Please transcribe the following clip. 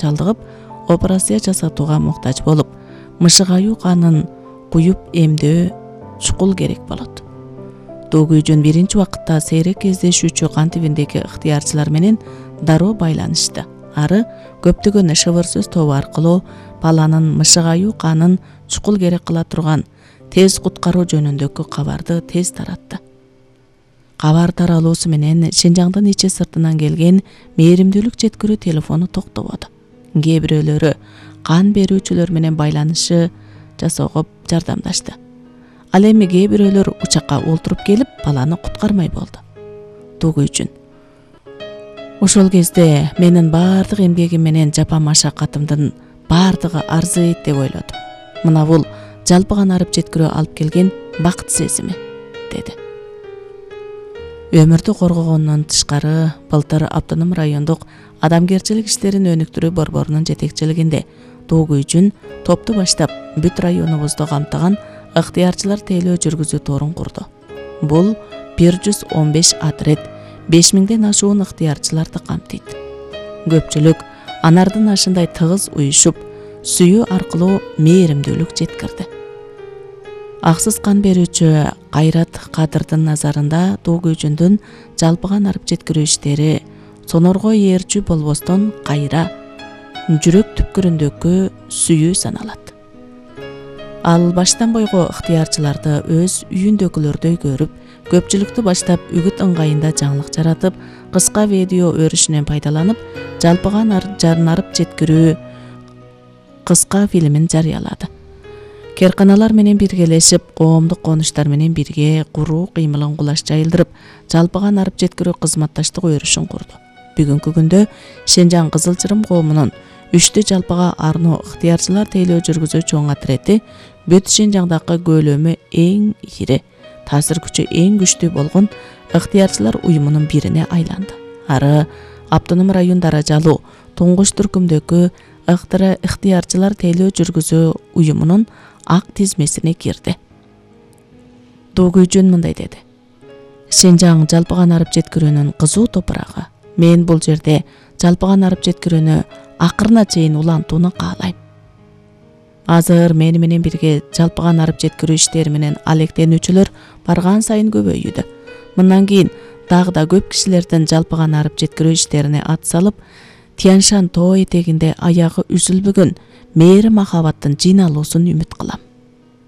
чалдыгып, операция жасатууга муктаж болуп, мышыгаюу канын куюп эмдөө чукул керек болот. Доо күйжүн биринчи убакытта сейрек кездешүүчү кан тибиндеги ыктыярчылар менен дароо байланышты. Ары көптөгөн шыбыр сөз тобу аркылуу баланын мышыгаюу канын чукул керек кыла турган тез куткаруу жөнүндөгү кабарды тез таратты. Кабар таралуусу менен Шинжаңдын ичи сыртынан келген мээримдүүлүк жеткирүү телефону токтободу. Кээ бирөөлөрү кан берүүчүлөр менен байланышы жасоого жардамдашты. Ал эми кээ бирөөлөр учакка олтуруп келип, баланы куткармай болду. Доо күйжүн. Ошол кезде менин баардык эмгегим менен жапа машакатымдын баардыгы арзыйт деп ойлодум. Мына бул жалпыган арып жеткирүү алып келген бакыт сезими, деди. Өмүрдү коргогондон тышкары, былтыр Автоном райондук адамгерчилик иштерин өнүктүрүү борборунун жетекчилигинде Доо күйжүн топту баштап бүт районубузду камтыган ыктыярчылар тейлөө жүргүзүү торун курду. Бул 115 отряд 5000ден ашуун ыктыярчыларды камтыйт. Көпчүлүк анардын ашындай тыгыз уюшуп, сүйүү аркылуу мээримдүүлүк жеткирди. Аксыз кан берүүчү Кайрат Кадырдын назарында Доо күйжүндүн жалпыган арып жеткирүү иштери сонорго ээрчүү болбостон кайра жүрөк түпкүрүндөгү сүйүү саналат. Ал баштан бойго ыктыярчыларды өз үйүндөгүлөрдөй көрүп, көпчүлүктү баштап үгүт ыңгайында жаңылык жаратып, кыска видео өрүшүнөн пайдаланып, жалпыган арып жеткирүү кыска фильмин жарыялады. Керканалар менен биргелешип, коомдук конуштар менен бирге куруу кыймылын кулаш жайылдырып, жалпыган арып жеткирүү кызматташтык өрүшүн курду. Бүгүнкү күндө Шинжаң Кызылчырым коомунун 3 жалпыга арноо ыктыярчылар тейлөө жүргүзүү чоң отрети бүт Шинжаңдагы көлөмү эң ири, таасир күчү эң күчтүү болгон ыктыярчылар уюмунун бирине айланды. Ары Автоном район даражалуу туңгуч түркүмдөгү ыктыярчылар тейлөө жүргүзүү уюмунун ак тизмесине кирди. Доо күйжүн мындай деди. Шинжаң жалпыган арып жеткирүүнүн кызуу топурагы. Мен бул жерде жалпыган арып жеткирүүнү акырына чейин улантууну каалайм. Азыр мени менен бирге жалпыган арып жеткирүү иштери менен алектенүүчүлөр барган сайын көбөйүүдө. Мындан кийин дагы да көп кишилердин жалпыган арып жеткирүү иштерине ат салып, Тяншан тоо этегинде аягы үзүлбөгөн мээри махабаттын жыйналуусун үмүт кылам.